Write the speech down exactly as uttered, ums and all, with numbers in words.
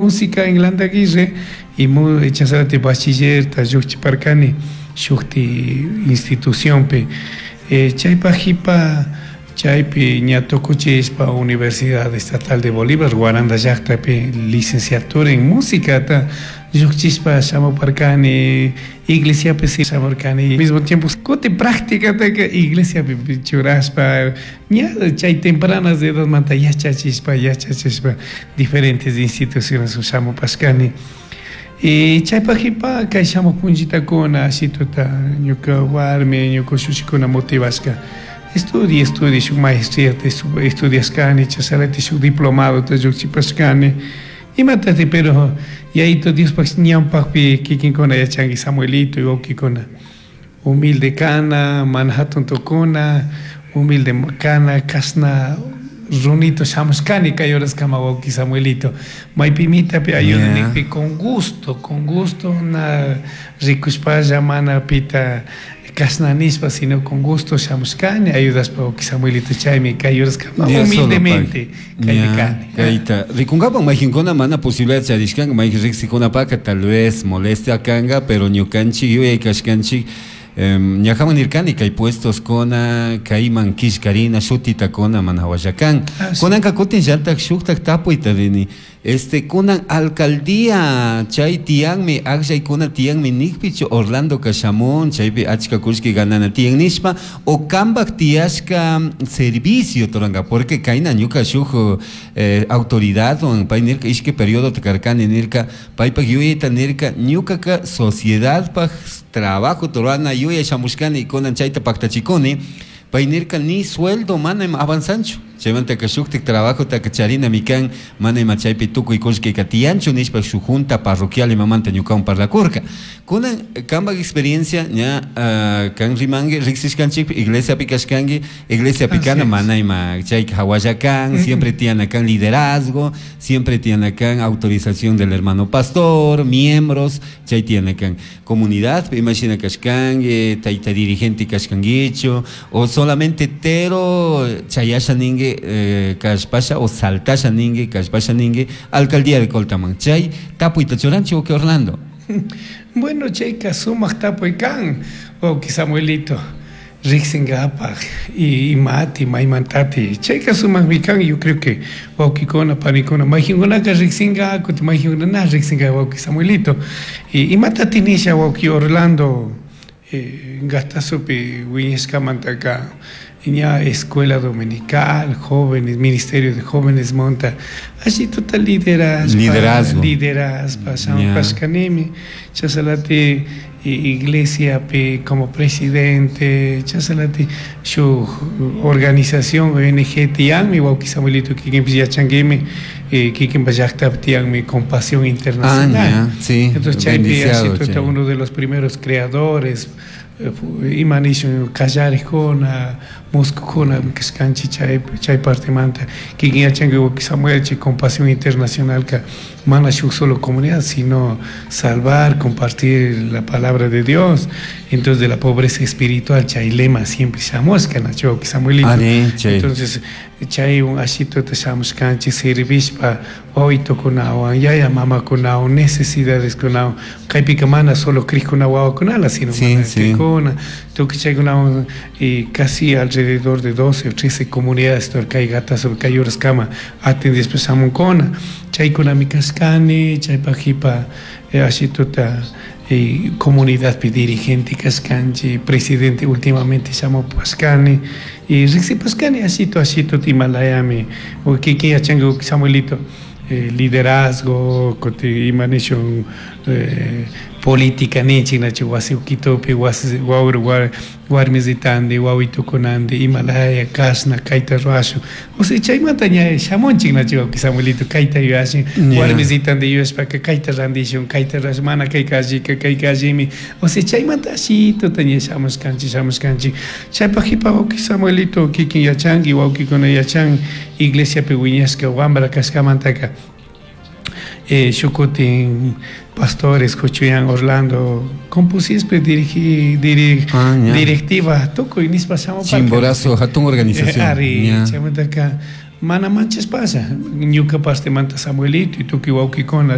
Música en Landaguirre y chasarati bachiller ta lluqchiparkani shukti institucionpi. eh, chaypaq qipa chaypi ña tukuchispa Universidad Estatal de Bolívar Guaranda llaqtapi licenciatura en músicata lluqchispa shamuparkani, iglesiapi shamurkani, mismo tiempo kuti prácticataka iglesiapi churashpa ña chay tempranas edadmanta yachachispa yachachispa diferentes instituciones shamupashkani. Y chaypaq qipa kay shamuq punchitakuna ashituta ñuka warmi, ñuka ushushikuna motivashka estudie, estudie, shuk maestría estudiashkani, chashalati shuk diplomadota lluqchipashkani, imatati, pero yayito Diospaq ñawpaqpi kikinkuna yachanki Samuelito y wawkikuna humilde kana, mana hatun tukuna, humilde kana, kashna runito shamushkani kay horaskama, wawki Samuelito, maypimitapi ayuda nikpi con gusto, con gusto, na rikushpalla mana pita kashna nishpa, sino con gusto shamushkani ayudashpa, wawki Samuelito, chaymi kay horaskama humildemente kaypi kani. Kayta rikunkapak mayqinkuna mana posibilidad charishkanka, mayqin riqsikunapaka tal vez molestia kanga, pero ñukanchik yuyay kashkanchik ñajaman nirkani kay puestos kuna kayman killkarina shutita kuna mana hawalla kan. Kunanka kutin llatak shuktak tapuyta rini, este kunan alcaldía chay tiyanmi, akllaykuna tiyanmi nikpichu Orlando shamun chaypi achka kullki ganana tiyan nishpa o kampak tiyashka servicio turanka, porque kayna ñuka shuk eh, autoridad pay nirka ishki periodo karkani nirka paypak yuyayta nirka ñukaka sociedadpak trabajo turana yuyay shamushkani kunan chayta paktachikuni. Pay nirka ni sueldo mana ima avanzanchu, chaymantaka shuktik trabajotaka charinami kan, mana ima chaypi tukuy kullkika tiyanchu nishpa shuk junta parroquial imamanta ñukawan parlakurka. Kunan kampak experiencia ña uh, kan rimanki riksishkanchik iglesiapi kashkanki, iglesiapi kana mana ima chayka hawalla kan, mm -hmm. siempre tiyana kan liderazgo, siempre tiyana kan autorización del hermano pastor, miembros, chay tiyana kan comunidad, imagina kashkanki, tayta dirigente kashkankichu o solamente tero chayasha ninki eh, kashpasha o saltasha ninki kashpasha ninki alcaldía de Coltaman, chay tapuyta churanchik wawki Orlando. Bueno, chayka sumaq tapuy kan, wawki Samuelito, riqsinkapaq y imati maymantati chayka sumaqmi kan. Yo creo que wawkikuna panikuna mayqinkunaka riqsinka, kutin mayqinkuna na riqsinka, wawki Samuelito, y imatati nisha, wawki Orlando, eh, Gastasupi wiñashkamantaka ña escuela dominical, jóvenes, ministerio de jóvenes monta, ashituta liderazgo, liderazgo, liderazgo, shamupashkanimi, chasalati iglesia pi como presidente, chasalati shuk organización O N G tiyanmi, wawki Samuelito, kikinpis yachankimi, kikinpa llaqtapi tiyanmi Compasión Internacional. Ah, sí, entonces chaypi ashituta uno de los primeros creadores, ima nishun kallarikuna muskukuna kashkanchik chay chay partemanta. Kikin yachanki, wawki Samuel, chay Compasión Internacional ka mana shuk solo comunidad, sino salvar, compartir la palabra de Dios, entonces de la pobreza espiritual, chay lema siempre shamushka, nachu, wawki Samuelito? Entonces chay un ashituta shamushkanchik servishpa wawitukunawan, yaya mamakunawan, necesidades kunawan. Kaypika mana solo krikuna wawakunala, sino sí, mana sí. krikuna tukuy chaykunawan y casi alrededor de doce o trece comunidades kay Gatazo kay horaskama atendishpa shamunkuna. Chaykunami kashkani. Chaypak qipa ashituta eh, comunidadpi dirigente kashkanchik, presidente últimamente shamupashkani y riqsipashkani ashito ashito imalayami kikin yachanki, Samuelito, eh, liderazgo, kutin ima nishun eh, política ninchik, nachu, wasi ukitupi wasi wawru warmisitandi wawitukunandi imalaya kashna kayta ruwashun, osea chaymanta ña shamunchik, nachu, wawki Samuelito? Kayta yuyashin warmisitandi yuyashpaka kayta randishun, kayta ruwashun, mana kayka allika, kayka allimi, osea chaymanta ashituta ña shamushkanchik shamushkanchik Chaypak qipa, wawki Samuelito, kikin yachanki, wawkikuna yachan, iglesiapi wiñashka wambra kashkamantaka eh, shuk kutin pastores kuchuyan Orlando compusispe dirigi diri, ah, directiva tukuy nishpa shamuparka. Chimborazo hatun organización. Ari, chaymantaka Mana manchashpalla ñuka partemanta Samuelito y tukuy wawkikuna.